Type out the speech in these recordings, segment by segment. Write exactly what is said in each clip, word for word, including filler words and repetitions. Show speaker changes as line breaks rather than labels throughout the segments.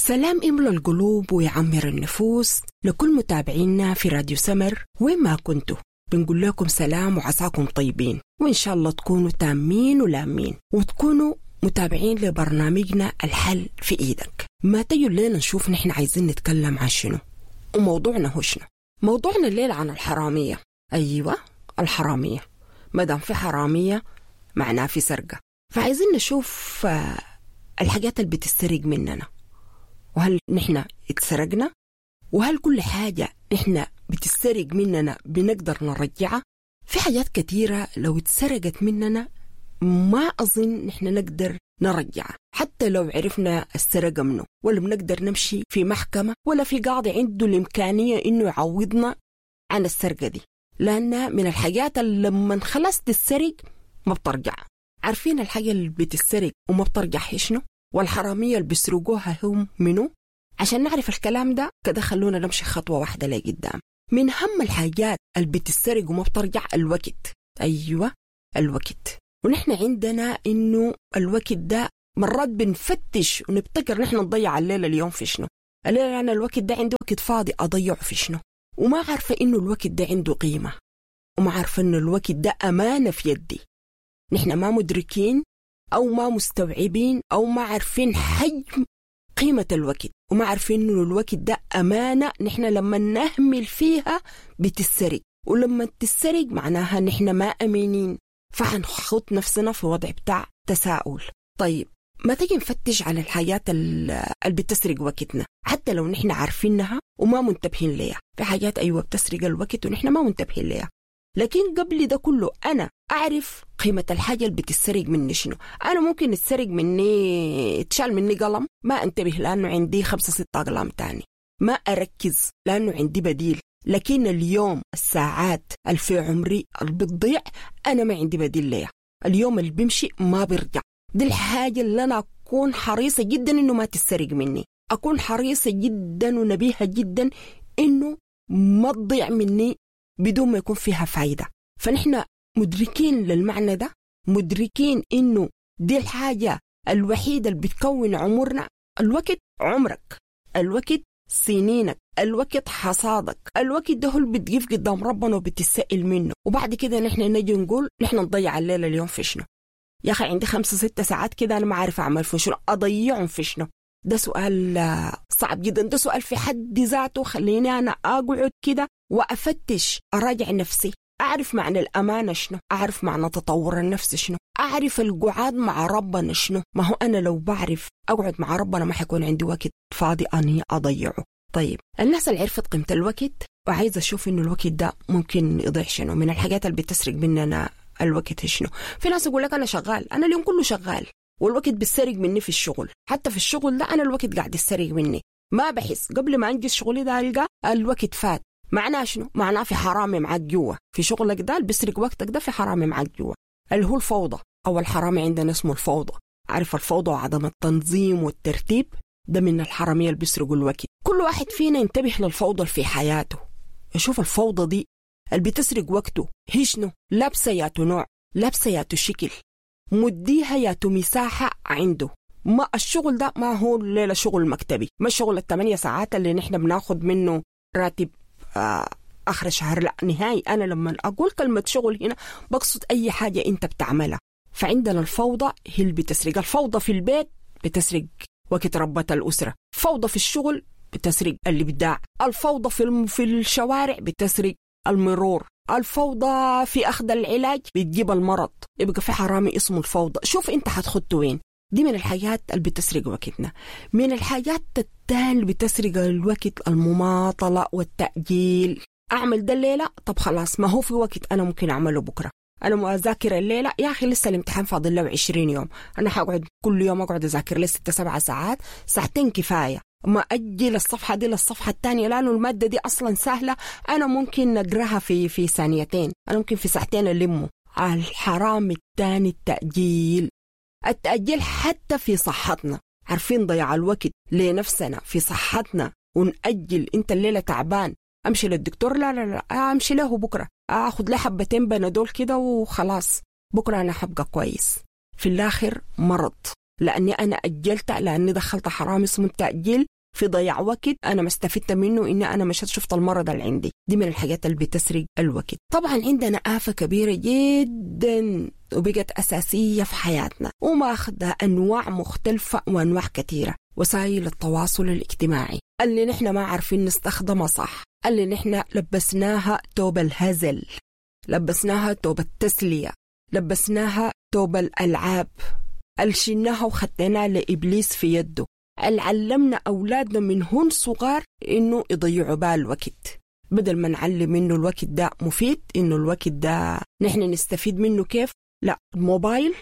سلام يملى القلوب ويعمر النفوس لكل متابعينا في راديو سمر وين ما كنتوا. بنقول لكم سلام وعساكم طيبين، وإن شاء الله تكونوا تامين ولامين وتكونوا متابعين لبرنامجنا الحل في إيدك. ما تجوا لنا نشوف نحن عايزين نتكلم عن شنو وموضوعنا هو شنو. موضوعنا الليلة عن الحرامية. أيوة الحرامية، مادام في حرامية معناه في سرقة، فعايزين نشوف الحاجات اللي بتسترق مننا، وهل نحن اتسرقنا، وهل كل حاجة نحن بتسترق مننا بنقدر نرجعها. في حاجات كثيرة لو اتسرقت مننا ما أظن نحن نقدر نرجعها، حتى لو عرفنا السرقة منه، ولا بنقدر نمشي في محكمة ولا في قاضي عنده الإمكانية إنه يعوضنا عن السرقة دي، لأنها من الحاجات اللي لما خلاص تتسرق ما بترجع. عارفين الحاجة اللي بتتسرق وما بترجع هي شنو؟ والحرامية اللي بيسرقوها هم منو؟ عشان نعرف الكلام ده كده خلونا نمشي خطوة واحدة لقدام. من هم الحاجات اللي بتتسرق وما بترجع الوقت. أيوة الوقت. ونحن عندنا إنه الوقت ده مرات بنفتش ونبتكر نحن نضيع الليلة اليوم في شنو. الليلة أنا الوقت ده عندي وقت فاضي أضيعه في شنو، وما عارفة إنه الوقت ده عنده قيمة، وما عارفة إنه الوقت ده أمانة في يدي. نحن ما مدركين أو ما مستوعبين أو ما عارفين حجم قيمة الوقت، وما عارفين إنه الوقت ده أمانة نحن لما نهمل فيها بتسرق، ولما تسرق معناها نحن ما أمينين، فحنخط نفسنا في وضع بتاع تساؤل. طيب ما تيجي نفتش على الحاجات اللي بتسرق وقتنا حتى لو نحن عارفينها وما منتبهين ليها. في حاجات أيوة بتسرق الوقت ونحن ما منتبهين ليها، لكن قبل ده كله أنا أعرف قيمة الحاجة اللي بتسرق مني شنو. أنا ممكن تسرق مني، تشال مني قلم ما أنتبه لأنه عندي خمسة ستة أقلام تاني، ما أركز لأنه عندي بديل. لكن اليوم الساعات اللي في عمري اللي بتضيع أنا ما عندي بديل ليها. اليوم اللي بيمشي ما بيرجع. دي الحاجة اللي أنا أكون حريصة جدا إنه ما تسرق مني، أكون حريصة جدا ونبيهة جدا إنه ما تضيع مني بدون ما يكون فيها فايدة. فنحن مدركين للمعنى ده، مدركين إنه دي الحاجة الوحيدة اللي بتكون عمرنا. الوقت عمرك، الوقت سنينك، الوقت حصادك، الوقت ده هو اللي بتقف قدام ربنا وبتسأل منه. وبعد كده نحن نجي نقول نحن نضيع الليلة اليوم في شنو. يا أخي عندي خمسة ستة ساعات كده أنا ما عارف أعمل في شنو، أضيعهم في شنو. ده سؤال صعب جدا، ده سؤال في حد ذاته خليني أنا أقعد كده وأفتش، أراجع نفسي، أعرف معنى الأمانة شنو، أعرف معنى تطور النفس شنو، أعرف القعاد مع ربنا شنو. ما هو أنا لو بعرف أقعد مع ربنا ما حيكون عندي وقت فاضي أني أضيعه. طيب الناس اللي عرفت قيمة الوقت وعايزة أشوف إنه الوقت ده ممكن يضيع شنو، من الحاجات اللي بتسرق مننا الوقت شنو. في ناس يقول لك أنا شغال، أنا اليوم كله شغال والوقت بيسرق مني في الشغل، حتى في الشغل ده أنا الوقت قاعد يسرق مني، ما بحس قبل ما أنجز شغلي ده ألقى الوقت فات. معناه شنو؟ معناه في حرامي معاك جوا في شغلك ده اللي بيسرق وقتك ده، في حرامي معاك جوا اللي هو الفوضى، أو الحرامي عندنا اسمه الفوضى. عارف الفوضى وعدم التنظيم والترتيب ده من الحرامية اللي بيسرقوا الوقت. كل واحد فينا ينتبه للفوضى في حياته، يشوف الفوضى دي اللي بتسرق وقته هي شنو، لابسة ياتو نوع، لابسة ياتو شكل، مديها ياتو مساحة عنده. ما الشغل ده ما هو الليلة شغل مكتبي، ما شغل الثمانية ساعات اللي نحن بناخد منه راتب آه آخر شهر، لا نهائي. أنا لما أقول كلمة شغل هنا بقصد أي حاجة أنت بتعملها. فعندنا الفوضى هي اللي بتسرق. الفوضى في البيت بتسرق وقت ربة الأسرة، فوضى في الشغل بتسرق الإبداع، الفوضى في في الشوارع بتسرق المرور، الفوضى في أخذ العلاج بتجيب المرض. يبقى في حرامي اسمه الفوضى. شوف أنت هتخط وين. دي من الحاجات اللي بتسرق وقتنا. من الحاجات التانية اللي بتسرق الوقت المماطلة والتأجيل. أعمل ده الليلة، طب خلاص ما هو في وقت أنا ممكن أعمله بكرة. أنا أذاكر الليلة يا أخي لسه الامتحان فاضل له عشرين يوم، أنا حقعد كل يوم أقعد أذاكر لي ستة سبعة ساعات، ساعتين كفاية. ما أجل الصفحة دي للصفحة الثانية لأنه المادة دي أصلا سهلة، أنا ممكن نقراها في في ثانيتين، أنا ممكن في ساعتين ألمه. الحرام الثاني التأجيل. التأجيل حتى في صحتنا، عارفين ضياع الوقت لنفسنا في صحتنا ونأجل. أنت الليلة تعبان أمشي للدكتور، لا لا لا أمشي له بكرة، أخذ لي حبتين بنادول كده وخلاص بكرة أنا حبقى كويس. في الآخر مرض، لأني أنا أجلت، لأني دخلت حرام اسمه التأجيل في ضياع وقت أنا ما استفدت منه، إني أنا مشيت شفت المرض اللي عندي. دي من الحاجات اللي بتسرق الوقت. طبعا عندنا آفة كبيرة جدا وبقت أساسية في حياتنا وماخدة أنواع مختلفة وأنواع كثيرة، وسائل التواصل الاجتماعي اللي نحن ما عارفين نستخدمها صح، اللي نحن لبسناها توب الهزل، لبسناها توب التسلية، لبسناها توب الألعاب، اللي شلناها وخدناها لإبليس في يده، اللي علمنا أولادنا من هن صغار إنه يضيعوا بها الوقت، بدل ما نعلم إنه الوقت ده مفيد، إنه الوقت ده نحن نستفيد منه كيف. لا، الموبايل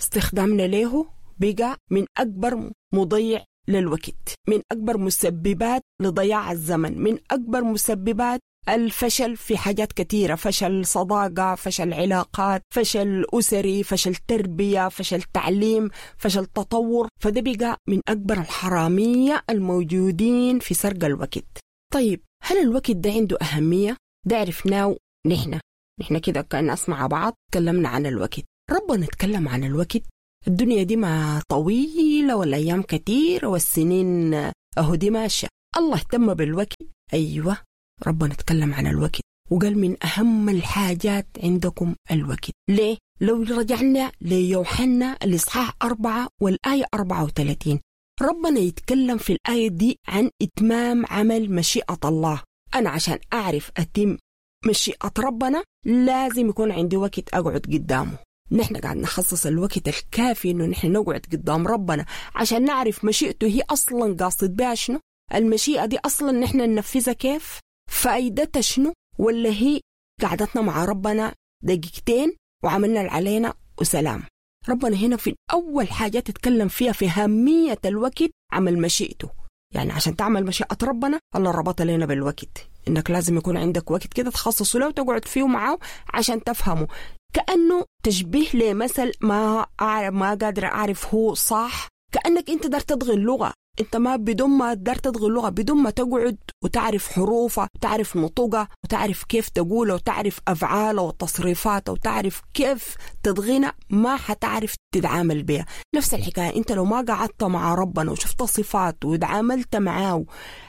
استخدامنا له بقى من أكبر مضيع للوقت، من أكبر مسببات لضياع الزمن، من أكبر مسببات الفشل في حاجات كثيرة، فشل صداقة، فشل علاقات، فشل أسري، فشل تربية، فشل تعليم، فشل تطور. فده بقى من أكبر الحرامية الموجودين في سرق الوقت. طيب هل الوقت ده عنده أهمية؟ ده عرفناه نحن نحن كده كناس مع بعض تكلمنا عن الوقت. ربنا اتكلم عن الوقت. الدنيا دي ما طويلة والأيام كتير والسنين أهو دي ماشية. الله اهتم بالوقت. أيوة، ربنا اتكلم عن الوقت وقال من أهم الحاجات عندكم الوقت. ليه؟ لو رجعنا ليوحنا الإصحاح أربعة والآية أربعة وثلاثين، ربنا يتكلم في الآية دي عن إتمام عمل مشيئة الله. أنا عشان أعرف أتم مشيئة ربنا لازم يكون عندي وقت أقعد قدامه. نحن قاعد نخصص الوقت الكافي إنه نحن نقعد قدام ربنا عشان نعرف مشيئته هي أصلا قاصد بها شنو، المشيئة دي أصلا نحن ننفذها كيف، فايدتها شنو، ولا هي قعدتنا مع ربنا دقيقتين وعملنا اللي علينا وسلام. ربنا هنا في أول حاجة تتكلم فيها في أهمية الوقت عمل مشيئته. يعني عشان تعمل مشيئة ربنا الله ربط لنا بالوقت، إنك لازم يكون عندك وقت كده تخصصه له وتقعد فيه معاه عشان تفهمه. كأنه تشبيه لمثل ما أعرف ما قادر أعرف هو صح، كأنك أنت دار تضغي اللغة، أنت ما بدون ما دار تضغي اللغة، بدون ما تقعد وتعرف حروفها وتعرف نطقها وتعرف كيف تقوله وتعرف أفعاله وتصريفاته وتعرف كيف تضغينا، ما حتعرف تتعامل بها. نفس الحكاية أنت لو ما قعدت مع ربنا وشفت صفاته وتعاملت معاه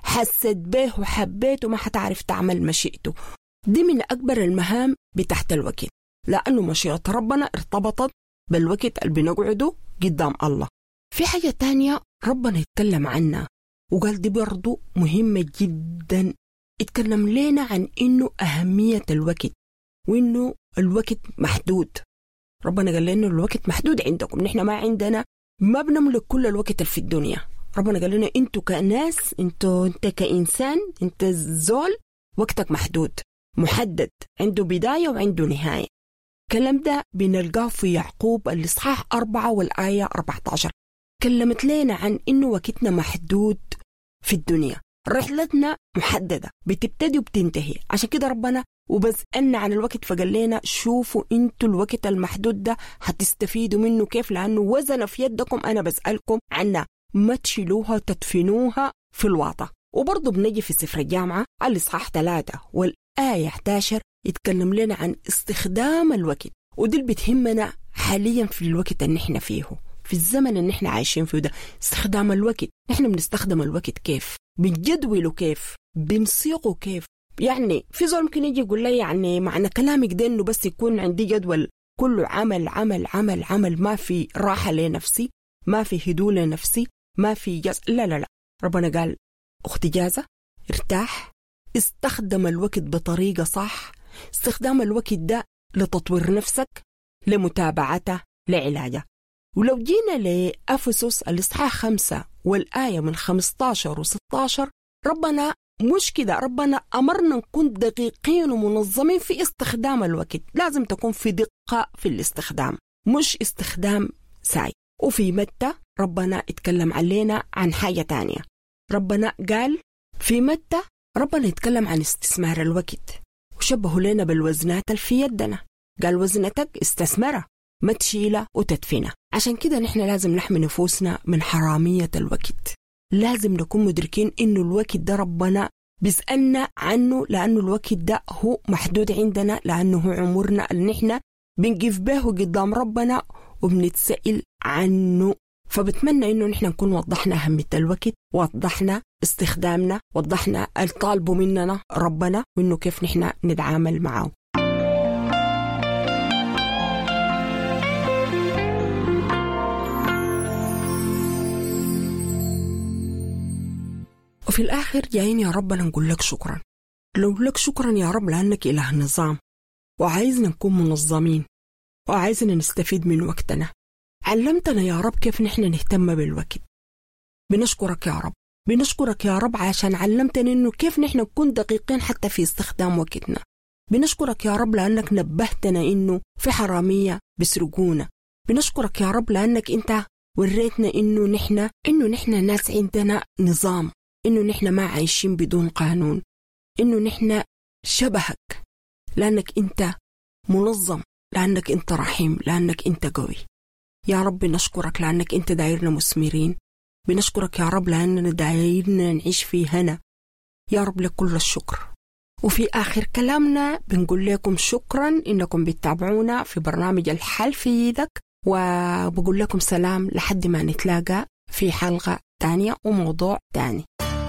حسيت به وحبيته ما حتعرف تعمل مشيئته. دي من أكبر المهام بتحت الوقت، لأنه مشيئة ربنا ارتبطت بالوقت اللي بنقعده قدام الله. في حاجة تانية ربنا يتكلم عنها وقال دي برضو مهمة جدا، اتكلم لنا عن إنه أهمية الوقت وإنه الوقت محدود. ربنا قال لنا الوقت محدود عندكم، نحن ما عندنا، ما بنملك كل الوقت اللي في الدنيا. ربنا قال لنا انتوا كناس، انتوا انت كإنسان، انت زول وقتك محدود محدد، عنده بداية وعنده نهاية. الكلام ده بنلقاه في يعقوب الإصحاح أربعة والآية أربعة عشر. كلمت لنا عن إنه وقتنا محدود في الدنيا، رحلتنا محددة بتبتدي وبتنتهي. عشان كده ربنا وبسألنا عن الوقت فقال لنا شوفوا انتوا الوقت المحدود ده هتستفيدوا منه كيف، لأنه وزن في يدكم، أنا بسألكم عنها، ما تشيلوها تدفنوها في الواطة. وبرضه بنجي في سفر الجامعة الإصحاح ثلاثة والآية إحدى عشر يتكلم لنا عن استخدام الوقت، ودي اللي بتهمنا حاليا في الوقت اللي نحن فيه، في الزمن اللي نحن عايشين فيه ده. استخدام الوقت، نحن بنستخدم الوقت كيف، بنجدوله كيف، بنصيغه كيف. يعني في زول ممكن يجي يقول لي يعني معنى كلامك ده انه بس يكون عندي جدول كله عمل عمل عمل عمل، ما في راحة لنفسي، ما في هدوء لنفسي، ما في جاز. لا لا لا، ربنا قال اخت جازة، ارتاح، استخدم الوقت بطريقة صح. استخدام الوقت ده لتطوير نفسك، لمتابعته، لعلاجه. ولو جينا لأفسس الإصحاح خمسة والآية من خمستاشر وستاشر، ربنا مش كده، ربنا أمرنا نكون دقيقين ومنظمين في استخدام الوقت. لازم تكون في دقة في الاستخدام، مش استخدام ساي. وفي متى ربنا اتكلم علينا عن حاجة تانية. ربنا قال في متى ربنا يتكلم عن استثمار الوقت، وشبهوا لنا بالوزنات اللي في يدنا. قال وزنتك استثمرها، ما تشيلها وتدفنها. عشان كده نحن لازم نحمي نفوسنا من حرامية الوقت. لازم نكون مدركين إنه الوقت ده ربنا بيسألنا عنه، لأنه الوقت ده هو محدود عندنا، لأنه هو عمرنا اللي نحن بنقف به قدام ربنا وبنتسأل عنه. فبتمنى إنه نحن نكون وضحنا أهمية الوقت، وضحنا استخدامنا، وضحنا الطالب مننا ربنا وإنه كيف نحن نتعامل معه. وفي الآخر جايين يا ربنا نقول لك شكرا. لو لك شكرا يا رب لأنك إله نظام، وعايزنا نكون منظمين، وعايزنا نستفيد من وقتنا. علمتنا يا رب كيف نحن نهتم بالوقت. بنشكرك يا رب، بنشكرك يا رب عشان علمتنا إنه كيف نحن نكون دقيقين حتى في استخدام وقتنا. بنشكرك يا رب لأنك نبهتنا إنه في حرامية بيسرقونا. بنشكرك يا رب لأنك أنت وريتنا إنه نحن إنه نحن ناس عندنا نظام، إنه نحن ما عايشين بدون قانون، إنه نحن شبهك لأنك أنت منظم، لأنك أنت رحيم، لأنك أنت قوي. يا رب نشكرك لأنك أنت دايرنا مثمرين. بنشكرك يا رب لأننا دايرنا نعيش في هنا. يا رب لك كل الشكر. وفي آخر كلامنا بنقول لكم شكرا إنكم بتتابعونا في برنامج الحل في إيدك، وبقول لكم سلام لحد ما نتلاقى في حلقة تانية وموضوع تاني.